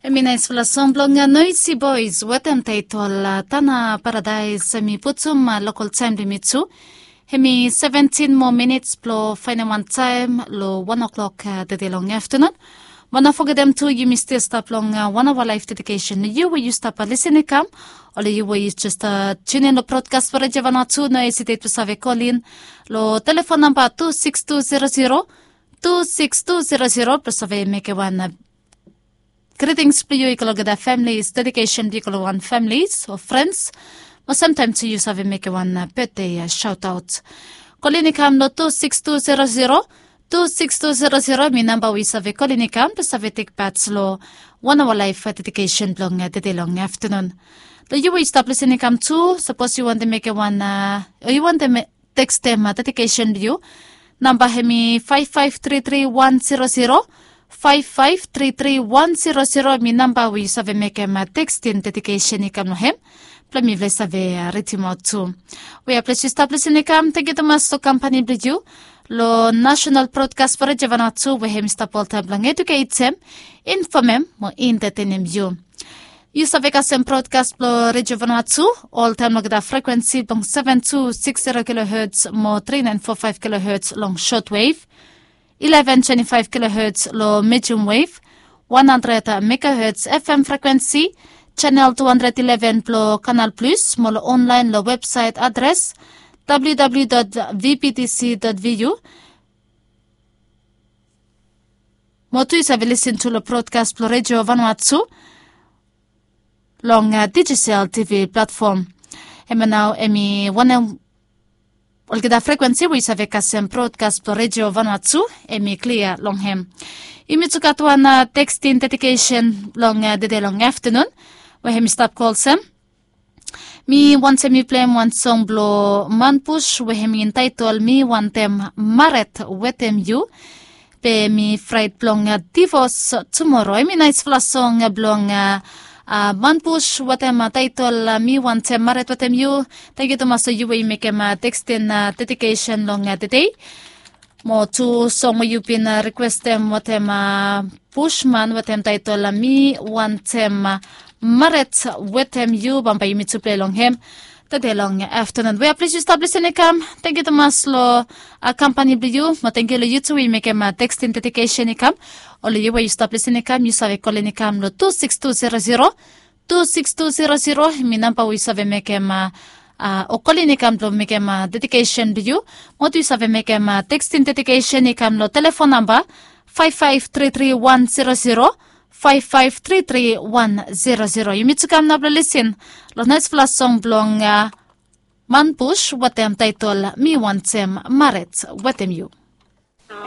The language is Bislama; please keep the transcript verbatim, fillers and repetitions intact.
Em i naispela song blong Noisi Bois wetem taitol Tana Paradaes. Em i putum lokol taem blong yumi tu. Em i seventin moa minits blong faenem wan taem long wan oklok tede long aftanun. Mo no fogetem tu yumi stil stap long wan aoa laef dedikesen long yu we yu stap lisin i kam, o long yu we yu jes tunin long brodkas blong Redio Vanuatu, no esitet blong save kolin long telefon namba tu sikis tu zero zero tu sikis tu zero zero blong save mekem wan gritings blong yu i go long olgeta familis, dedikesen blong yu i go long wan familis o frens. Mo samtaem tu yu save mekem wan betde saotaot. Kolin i kam long tu sikis tu zero zero tu sikis tu zero zero, em i namba we yu save kolin i kam blong save tekpat long wan aoa laef dedikesen blong tede long aftanun. Long yu we yu stap lisin i kam tu, sapos yu wantem mekem wan, o yu wantem tekstem dedikesen blong yu, namba em i faef faef tri tri wan zero zero, faef faef tri tri wan zero zero, em i namba we yu save mekem tekstin dedikesen i kam long hem blong mifala i save ridimaot tu. We ples yu stap lisin i kam, tengiu tumas long kampani blong yu long nasenal brodkas blong Redio Vanuatu we em i stap oltaem blong eduketem, infomem mo entetenem yu. Yu save kasem brodkas blong Redio Vanuatu oltaem long olgeta frekwensi blong seven two six zero kilohertz mo three nine four five kilohertz long shortwave, eleven twenty-five kilohertz long medium wave, one hundred megahertz F M frekwensi, channel two hundred eleven blong Canal Plus, mo long online long websaet adres w w w dot v b t c dot v u. Mo tu yu save lisin tu long brodkas blong Redio Vanuatu long digital T V platfom. Hemia nao em i wanem olgeta frekwensi we yu save kasem brodkas blong Redio Vanuatu, em i klia long hem. Yumi tu gat wan tekstin dedikesen long tede long aftanun we em i stap go olsem. Mi wantem mi pleim wan song blong Manbus we em i entaetol Mi Wantem Mared Wetem Yu. Be mi fraet blong divos tumoro. Em i naesfala song blong Manbus wetem taetol Mi Wantem Mared Wetem Yu. Tengiu tumas long yu we yu mekem tekstin dedikesen long tede. Mo tu song we yu bin rikwestem wetem Bushman wetem taetol Mi Wantem Mared Wetem Yu, bambae yumi tu plei long hem tede long aftanun. We ples yu stap lisin i kam, tengiu tumas long kampani blong yu, mo tengiu long yu tu we yu mekem tekstin dedikesen i kam. O long yu we yu stap lisin i kam, yu save kolin i kam long tu sikis tu zero zero tu sikis tu zero zero, em i namba we yu save mekem o kolin i kam blong mekem dedikesen blong yu. Mo tu yu save mekem tekstin dedikesen i kam long telefon namba faef faef tri tri wan zero zero, faef faef tri tri wan zero zero. Yumi tu kam nao blong lisin long naesfala song blong Manbus wetem taetol Mi Wantem Mared Wetem Yu.